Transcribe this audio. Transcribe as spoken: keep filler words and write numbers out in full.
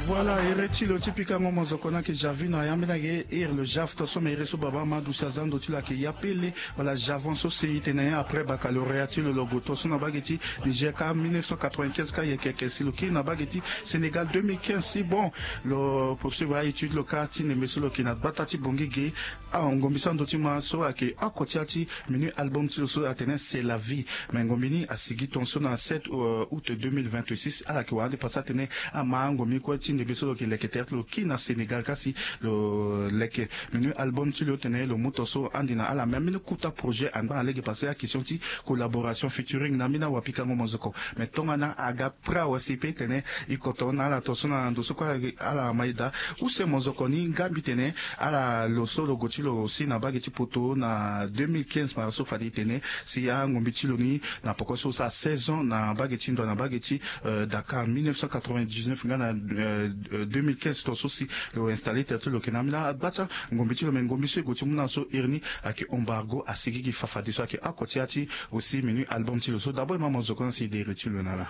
Voilà, ere ti lo ti pikango mozoko na yeke Javi na yambe na yeke ere lo Jav to so ma ere so baba Amadou si aza ndo ti lo ayeke Yapele. Voilà, Javan so si e tene après baccalauréat ti lo lo gue to so na bage ti Niger ka mille neuf cent quatre-vingt-quinze ka yeke yeke si lo kiri na bage ti Sénégal deux mille quinze si bon lo poursuivre a-étude lo ka ti ndembe so lo yeke na gbata ti Bangui ge. Ah, ngombi so ando ti ma so ayeke oko ti ya ti menu album ti lo so atene C'est la vie. Mais ngombi ni asigi tongaso na sept août deux mille vingt-six, ala yeke wara ande pasa atene ama angombi kue ti ndembe so lo yeke leke tere ti lo kiri na Sénégal kasi lo leke menu album ti lo tene lo mu tongaso ande na ala même mini kuta projet angba na lege pase a question ti collaboration featuring na mini awapikango mozoko. Mais tongana aga pra wasi pe tene e koto na ala tongaso na ndo so kue ala ma e daa. Use mozoko ni nga mbi tene ala lo so lo gue ti lo si na bage ti poto na deux mille quinze ma so fade e tene si angombi ti lo ni na poko so sara seize ans na bage ti ndo na bage ti Dakar mille neuf cent quatre-vingt-dix-neuf nga na deux mille quinze tongaso si lo installe tere ti lo yeke na ambeni agba ti angombi ti lo mais ngombi so e gue ti mu na so iri ni ayeke embargo asigi gi fafadeso ayeke oko ti ya ti aussi menu album ti lo so d'abord e ma mozoko na si e de iri ti lo na ala.